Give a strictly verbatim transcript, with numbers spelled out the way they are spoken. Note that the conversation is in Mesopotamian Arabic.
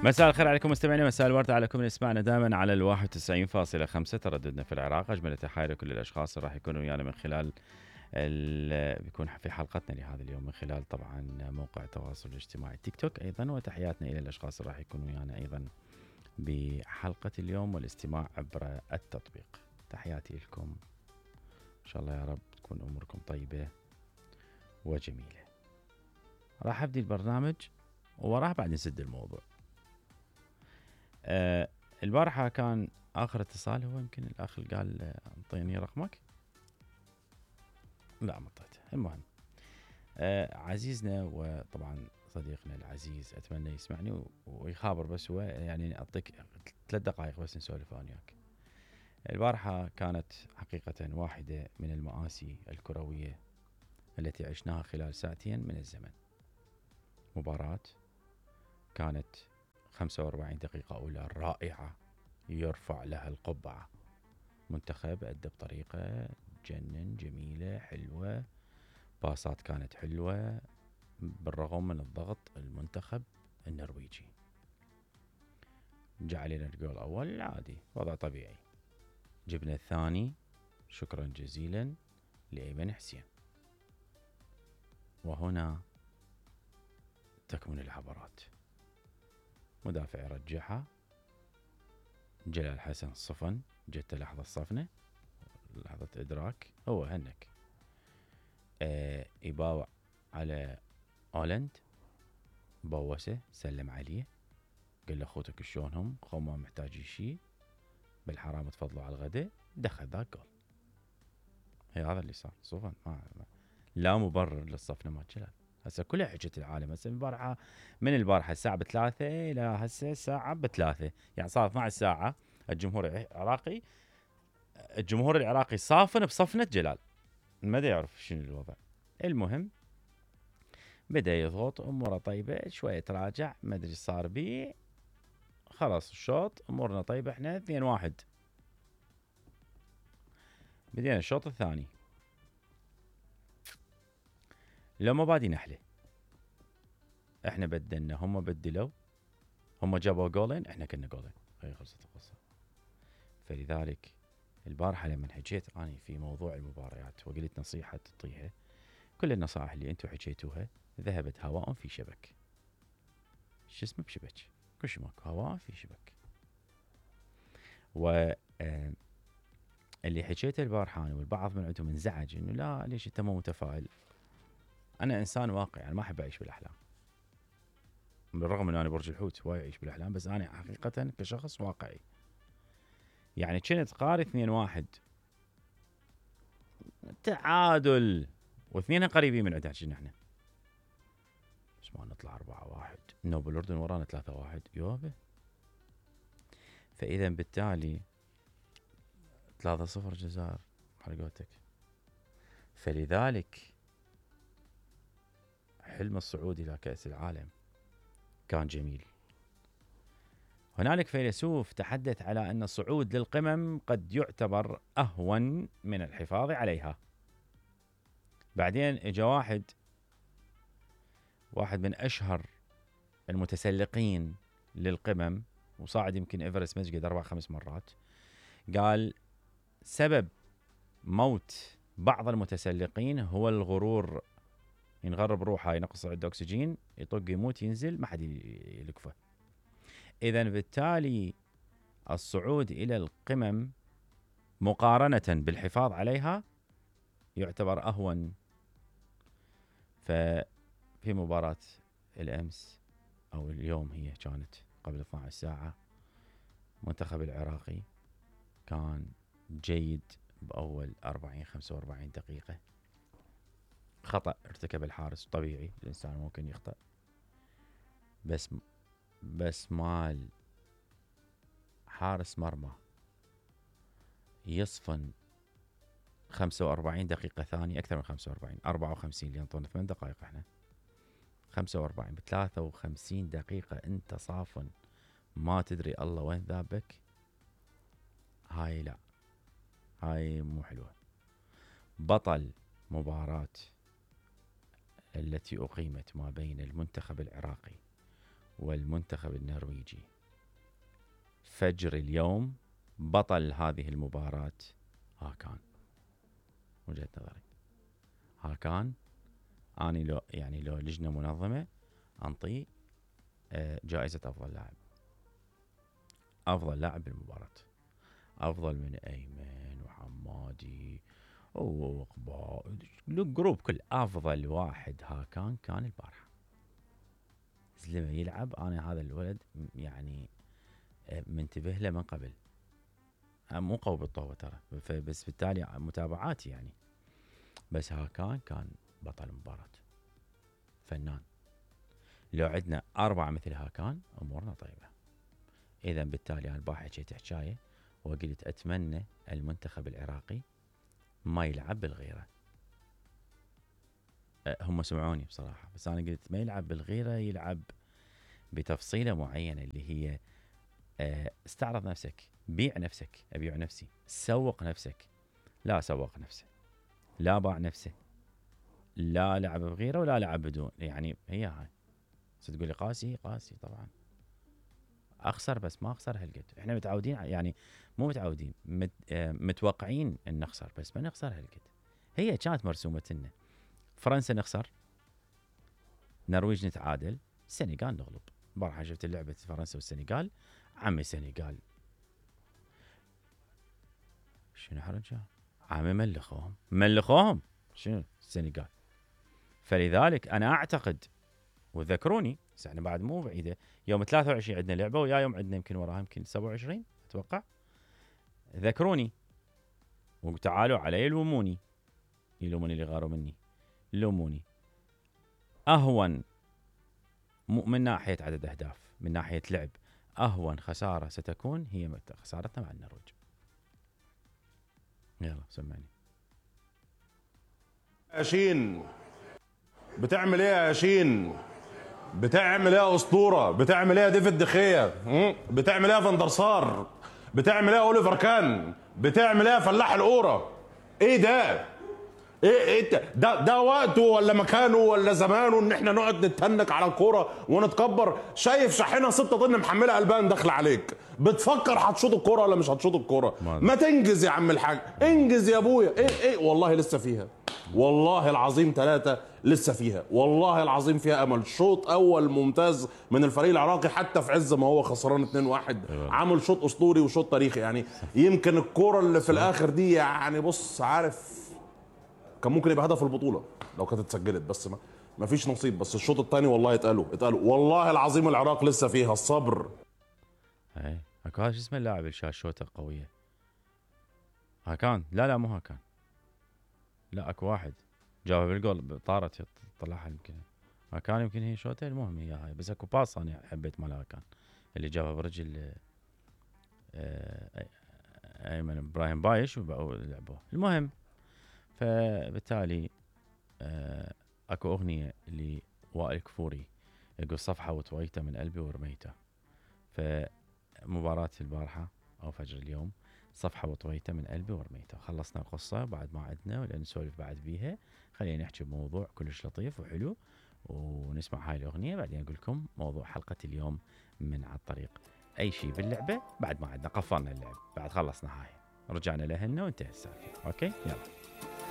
مساء الخير عليكم مستمعينا، مساء الورد عليكم اللي يسمعنا دائما على الواحد وتسعين فاصلة خمسة ترددنا في العراق. اجمل تحايا لكل الاشخاص اللي راح يكونوا ويانا من خلال بيكون في حلقتنا لهذا اليوم من خلال طبعا موقع التواصل الاجتماعي تيك توك ايضا، وتحياتنا الى الاشخاص اللي راح يكونوا ويانا ايضا بحلقه اليوم والاستماع عبر التطبيق. تحياتي لكم، ان شاء الله يا رب تكون اموركم طيبه وجميله. راح ابدي البرنامج ووراه بعد نسد الموضوع. آه البارحة كان آخر اتصال، هو يمكن الأخ اللي قال أعطيني رقمك، لا ما اعطيته. المهم آه عزيزنا وطبعا صديقنا العزيز، أتمنى يسمعني ويخابر، بس هو يعني أعطيك ثلاث دقائق بس نسولف أنا وياك. البارحة كانت حقيقة واحدة من المآسي الكروية التي عشناها خلال ساعتين من الزمن. مباراة كانت خمسة وأربعين دقيقة أولى رائعة يرفع لها القبعة. منتخب أدى بطريقة جنن، جميلة حلوة، باصات كانت حلوة بالرغم من الضغط المنتخب النرويجي. جاء علينا الجول الأول عادي، وضع طبيعي. جبنا الثاني شكرا جزيلا لأيمن حسين. وهنا تكمن العبرات. مدافع يرجعها، جلال حسن صفن، جت لحظة الصفنة، لحظة إدراك، هو هنك آه يباوع على أولند، بوسه سلم عليه، قال له أخوتك شلونهم، خو ما محتاجين شي، بالحرام تفضلوا على الغداء، دخل ذاك جول. هي هذا اللي صار. صفن ما لا مبرر للصفنة ما جلال. هسه كلها حجة العالم. هسه البارحة من البارحة الساعة بثلاثة إلى هسه الساعة بثلاثة، يعني صار اثنتي عشرة ساعة. الجمهور العراقي الجمهور العراقي صافن بصفنة جلال، ما دا يعرف شنو الوضع. المهم بدأ يضغط، أموره طيبة، شوية تراجع، ما أدري صار بيه، خلاص الشوط أمورنا طيبة، احنا اثنين واحد. بدينا الشوط الثاني، لو ما بادي نحله، احنا بدلنا، هم بدلوا، هم جابوا جولين، احنا كنا جولين، هي خلصت القصة. فلذلك البارحة لما حكيت أنا في موضوع المباريات وقلت نصيحة تعطيها، كل النصائح اللي انتم حكيتوها ذهبت هواء في شبك. شو اسمه بشبك، كل شيء ماكو، هواء في شبك. و اللي حكيته البارحة والبعض من عندهم انزعج انه لا ليش انت مو متفائل. انا انسان واقعي، انا ما احب اعيش بالاحلام، بالرغم ان انا برج الحوت وايد اعيش بالاحلام، بس انا حقيقة كشخص واقعي. يعني كنت قاري اثنين واحد تعادل، واثنين قريبين من عندنا كنا احنا، بس ما نطلع أربعة واحد، نوب الأردن ورانا ثلاثة واحد يوبه. فإذا بالتالي ثلاثة صفر جزائر حرقوتك. فلذلك حلم الصعود إلى كأس العالم كان جميل. هنالك فيلسوف تحدث على أن الصعود للقمم قد يعتبر أهون من الحفاظ عليها. بعدين اجا واحد واحد من أشهر المتسلقين للقمم، وصاعد يمكن إيفرست مسجد أربع خمس مرات، قال سبب موت بعض المتسلقين هو الغرور، ينغرب روحه، ينقص عنده أكسجين، يطق يموت، ينزل ما حد يلقفه. إذن بالتالي الصعود إلى القمم مقارنة بالحفاظ عليها يعتبر أهون. ففي مباراة الأمس أو اليوم، هي كانت قبل اثنتي عشرة ساعة، منتخب العراقي كان جيد بأول أربعين خمسة وأربعين دقيقة. خطأ ارتكب الحارس، طبيعي الإنسان ممكن يخطأ، بس بس مال حارس مرمى يصفن خمسة وأربعين دقيقة ثانية، أكثر من خمسة وأربعين، أربعة وخمسين اللي ينطون ثمان دقائق، إحنا خمسة وأربعين بثلاثة وخمسين دقيقة أنت صافن، ما تدري الله وين ذابك. هاي لا، هاي مو حلوة. بطل مباراة التي أقيمت ما بين المنتخب العراقي والمنتخب النرويجي. فجر اليوم بطل هذه المباراة هاكان. وجهة نظري هاكان، اني لو يعني لو لجنة منظمة انطيه جائزة افضل لاعب، افضل لاعب بالمباراة، افضل من ايمن وحمادي وقبا الجروب كل. افضل واحد هاكان كان البارحة. لما يلعب انا هذا الولد يعني منتبه له من قبل، مو قوي بالطوبة ترى، بس بالتالي متابعاتي يعني. بس هاكان كان بطل المباراة، فنان. لو عندنا أربعة مثل هاكان أمورنا طيبة. إذا بالتالي أنا البارحة حكيت حكاية وقلت أتمنى المنتخب العراقي ما يلعب بالغيرة. هم سمعوني بصراحة، بس أنا قلت ما يلعب بالغيرة، يلعب بتفصيلة معينة اللي هي استعرض نفسك، بيع نفسك. أبيع نفسي، سوق نفسك. لا سوق نفسه، لا باع نفسه، لا لعب بغيره ولا لعب بدون. يعني هي هاي. تقول لي قاسي، قاسي طبعا اخسر، بس ما اخسر هالقد. احنا متعودين يعني، مو متعودين، مت متوقعين ان نخسر، بس ما نخسر هالقد. هي كانت مرسومه لنا. فرنسا نخسر، نرويج نتعادل، السنغال نغلب. البارحه شفت لعبه فرنسا والسنغال، عمي السنغال شنو حرجه، عمي ملخوهم ملخوهم شنو السنغال. فلذلك انا اعتقد، وذكروني بس احنا بعد مو بعيده، يوم ثلاثة وعشرين عندنا لعبه، ويا يوم عندنا يمكن وراها يمكن سبعة وعشرين اتوقع. ذكروني وتعالوا علي لوموني، يلوموني اللي غاروا مني، لوموني. اهون من ناحيه عدد اهداف، من ناحيه لعب، اهون خساره ستكون هي خسارتنا مع النرويج. يلا سمعني. ياشين بتعمل ايه يا ياشين؟ بتعمل ايه يا اسطوره؟ بتعمل ايه يا ديفيد دخيا؟ بتعمل ايه يا فاندرسار؟ بتعمل ايه يا اوليفر كان؟ بتعمل ايه يا فلاح القوره؟ ايه ده؟ ايه ايه ده؟ ده وقته ولا مكانه ولا زمانه ان احنا نقعد نتهنك على الكوره ونتكبر؟ شايف شاحنه ستة طن محمله البان داخله عليك، بتفكر هتشوط الكوره ولا مش هتشوط الكوره؟ ما تنجز يا عم الحاج، انجز يا ابويا. ايه ايه والله لسه فيها، والله العظيم ثلاثة لسه فيها، والله العظيم فيها امل. شوط اول ممتاز من الفريق العراقي، حتى في عز ما هو خسران اتنين واحد عمل شوط اسطوري وشوط تاريخي. يعني يمكن الكوره اللي في الاخر دي يعني بص عارف كان ممكن يبقى هدف البطوله لو كانت اتسجلت، بس ما ما فيش نصيب. بس الشوط الثاني والله اتقالوا اتقالوا والله العظيم العراق لسه فيها الصبر. اي اكو هذا شو اسمه اللاعب اللي شال شوطه قويه؟ هاكان. لا لا مو هاكان، لا اكو واحد جابها بالجول طارت طلعها يمكن هاكان، يمكن هي شوطه. المهم هي هاي، بس اكو باص انا حبيت مال هاكان اللي جابها برجل ايمن ابراهيم بايش ولعبوه. المهم فبالتالي اكو اغنيه لوائل كفوري يقول صفحه وطويته من قلبي ورميته. فمباراه البارحه او فجر اليوم صفحه وطويته من قلبي ورميته. خلصنا القصه بعد ما عدنا ولا نسولف بعد بيها. خلينا نحكي بموضوع كلش لطيف وحلو ونسمع هاي الاغنيه، بعدين اقول لكم موضوع حلقه اليوم من على الطريق. اي شيء باللعبه بعد ما عدنا قفلنا اللعب، بعد خلصنا هاي رجعنا لهنا وانتهى السالفه. اوكي يلا.